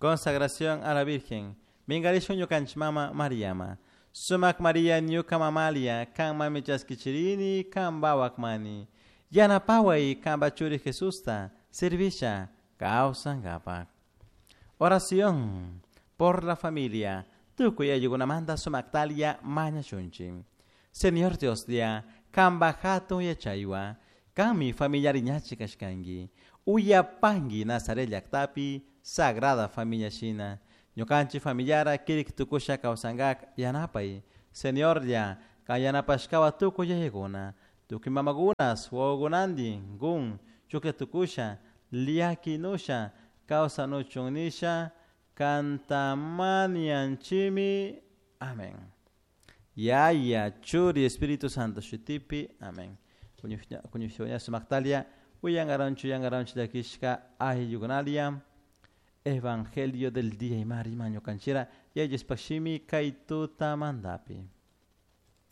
Consagración a la Virgen. Minkarishun ñukanchik mama Mariama. Sumak Maria ñuka mamalia, kan mami chaskichirini, kan mani. Yanapaway kanpa churi Jesusta, servisha, kawsankapak. Oración por la familia. Tukuy ayllukunamanta sumaktalia mañashunchik. Señor Dioslla, kanpa hatun yachaywan, kanmi familiari ñachi kashkanki. Uyapanki Nazaret llaktapi Sagrada Familia shina. Ñukanchik familiara kirik tukusha kawsankak yanapay. Señorlla, kan yanapashkawa tukuy yayakuna. Tukuy mamakunas, wawakunantin, kun, chuklla tukusha, llakinusha, kawsanuchun nisha, kantamanianchimi. Amén. Yaya, Churi, Espíritu Santo, shutipi. Amén. Kuñushña sumaktalia, uyangaranchu, yangaranchu llakishka, ayllukunalia. Evangelio del día y mari maño canchera, yayes pashimi kay tutamantapi.